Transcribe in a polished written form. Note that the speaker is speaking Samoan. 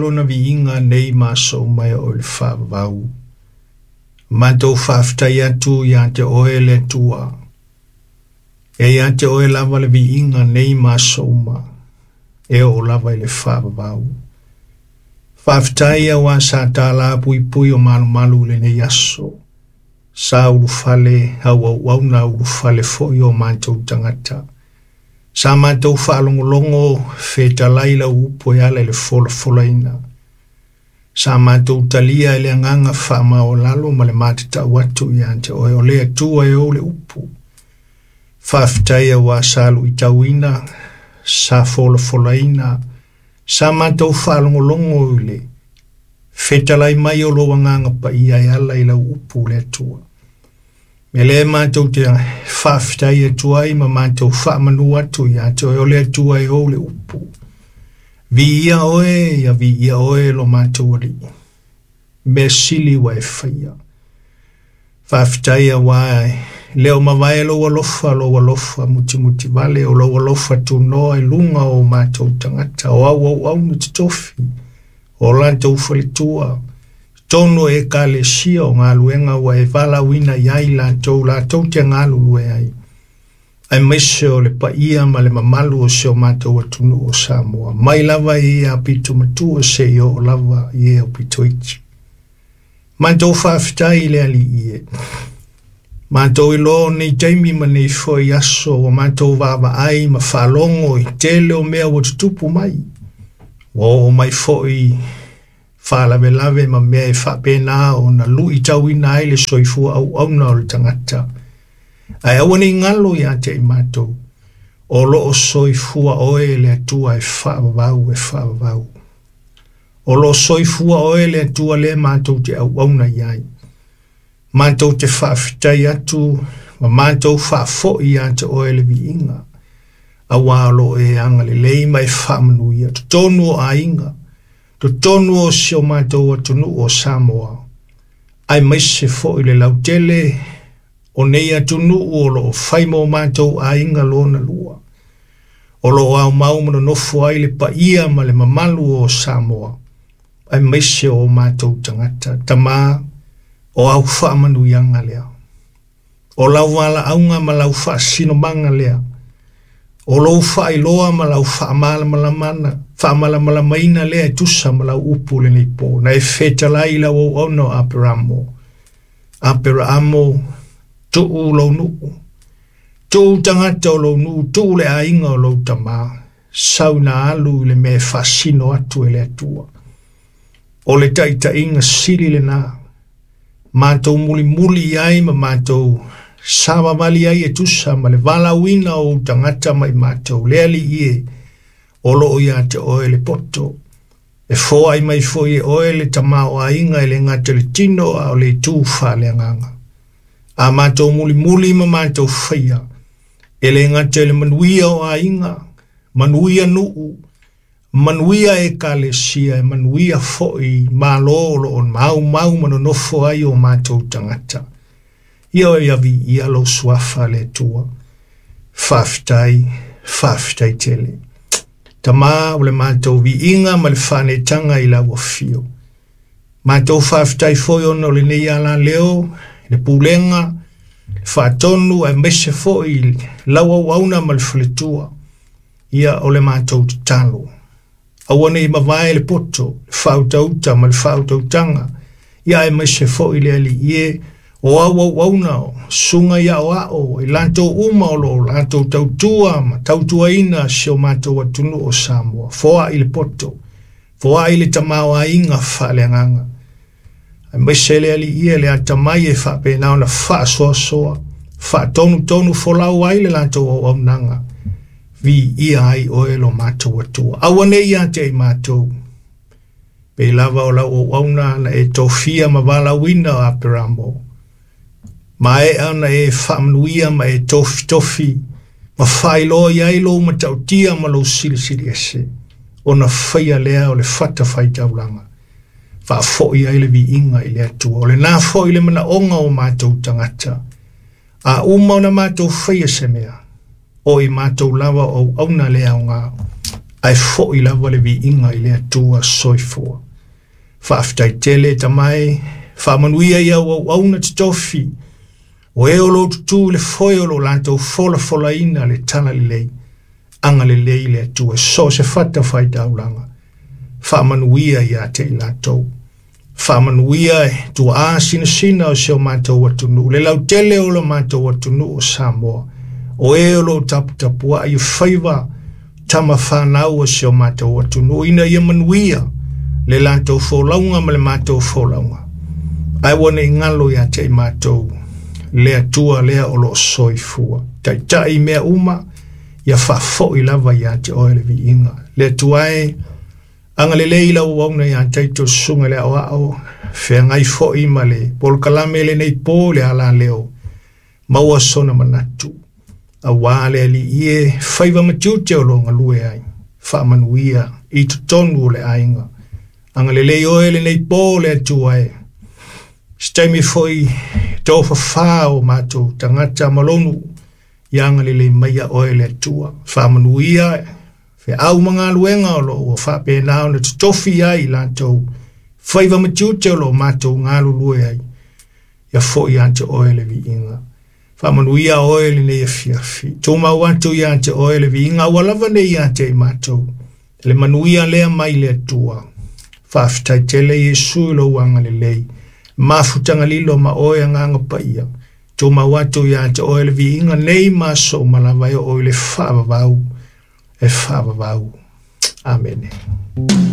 Lona viiga nei ma aso uma e oo i le faavavau. Matou faafetai atu ia te Oe le Atua. E ia te Oe lava le viiga nei ma aso uma, e oo lava i le faavavau. Faafetai auā sa tālā puipui o malumalu i lenei aso. Sa ulufale au auauna ulufale foi o matou tagata. Sa matou faalogologo fetalai lau upu e ala i le folafolaina. Sa matou talia e le agaga faamaualalo ma le matatau atu ia te Oe o le Atua e ou le upu. Faafetai auā sa luitauina, sa folafolaina, sa matou faalogologo i le fetalai mai o lou agaga paia e ala i lau upu le Atua. Me lea matou te faafetai atu ai ma matou faamanu atu ia te Oe o le Atua e ou le upu. Viia Oe, ia viia Oe lo matou Alii. Mea sili ua e faia. Faafetai auā e le o mavae lou alofa, lou alofa mutimuti vale, o lou alofa tunoa i luga o matou tagata, o au auauna totofi, o latou faletua, totonu o ekalesia o galuega ua e valaauina i ai latou, latou te galulue ai. Aemaise o le paia ma le mamalu o si o matou atunuu o Samoa, mai lava i e aupito matua seia oo lava i e aupito iti. Matou faafetai i le Alii e. Matou iloa o nei taimi ma nei foi aso ua matou vaavaai ma faalogo i tele o mea ua tutupu mai. Ua oo mai foi faalavelave ma mea e faapena ona luitauina ai le soifua auauna o le tagata. Ae aua ne i galo ia te i matou, o lo o soifua Oe le Atua e faavavau e faavavau. O lo o soifua Oe le Atua lea matou te auauna i ai. Matou te faafetai atu ma matou faafoi ia te Oe le viiga, auā o lo o e agalelei ma e faamanuia totonu o aiga, totonu o si o matou atunuu o Samoa, aemaise foi le lautele o nei atunuu o lo o fai ma o matou aiga lona lua. O lo o aumau ma nonofo ai le paia ma le mamalu o Samoa, aemaise o matou tagata. Tama, o au faamanuiaga lea. O lau valaauga ma lau faasinomaga lea. O lou faailoa ma lau faamalamalamaina lea e tusa ma lau upu lenei pō. Na e fetalai i lau auauna o Aperamo. Aperamo, tuu lou nuu. Tuu tagata o lou nuu, tuu le aiga o lou tamā. Sau ina alu i le mea e faasino atu e le Atua. O le taitaiga sili lena. Matou mulimuli i ai ma matou savavali ai e tusa ma le valaauina o ou tagata ma i matou. Le Alii e, o lo o ia te Oe le poto. E foai mai foi e Oe le tamaoaiga e le gata i le tino a o le itu faaleagaga. A matou mulimuli ma matou faia, e le gata i le manuia o aiga, manuia nuu, manuia ekalesia, e manuia foi Malo o lo o maumau ma nonofo ai o matou tagata. Ia oe ia viia lou suafa le Atua. Faafetai, faafetai tele. Tama o le matou viiga ma le faaneetaga i lau afio. Matou faafetai foi ona o lenei alaleo, le pulega, le faatonu aemaise foi lau auauna ma le faletua. Ia o le matou tatalo. Aua ne i mavae le poto, le faautauta ma le faautautaga. Ia aemaise foi le Alii e, o au auauna, o susuga i aoao, i latou uma o lo o latou tautua ma tautuaina si o matou atunuu o Samoa. Foai le poto, foai le tamaoaiga faaleagaga. Aemaise le Alii e le atamai e faapena ona faasoasoa, faatonutonu folau ai le latou auaunaga. Viia ai Oe lo matou Atua. Aua ne i ia te i matou, pei lava o lau auauna na e tofia ma valaauina o Aperamo. Maea ona e faamanuia ma e tofitofi, ma faailoa i ai lou matautia ma lou silisili ese, ona faia lea o le fatafaitaulaga. Faafoi ai le viiga i le Atua. O lena foi le manaoga o matou tagata. A uma ona matou faia se mea, o i matou lava o auauna le aoga. Ae fo'i lava le viiga i le Atua soifua. Faafetai tele e tamae, faamanuia i au auauna totofi, o e o lo o tutū i le foe o lo o latou folafolaina le talalelei, agalelei le Atua, so o se fatafaitaulaga, faamanuia ia te i latou. Faamanuia e tuaa sinasina o si o matou atunuu, le lautele o lo matou atunuu o Samoa, o e o lo o taputapuai i faiva tama whanau o si o matou atunuu, ina ia manuia le latou folauga ma le matou folauga. Ae ua ne i galo ia te i matou, le Atua lea o lo o soifua. Taitai i mea uma, ia faafoi lava ia te oe le viiga. Le Atua e, agalelei lau auauna ia Taito susuga i le aoao, feagai foi ma le polokalame lenei po le alaleo, maua sona manatu. Auā le Alii e, faiva ma tiute o lo o galue ai, faamanuia i totonu o le aiga. Agalelei oe lenei po le Atua e, se taimi foi tofafā o matou tagata ma lou nuu, ia agalelei maia oe le Atua. Faamanuia feau ma galuega o lo o ua faapena ona totofi ai i latou, faiva ma tiute o lo o matou galulue ai, ia foi ia te oe le viiga. Faamanuia oe lenei afiafi. Tumau atu ia te oe le viiga, aua lava ne i ia te i matou. Le manuia lea mai le Atua. Faafetai tele Iesu i lou agalelei. Mafutaga lilo ma oe agaga paia. Tumau atu ia te oe le viiga nei ma aso uma lava e oo i le faavavau, e faavavau. Amene.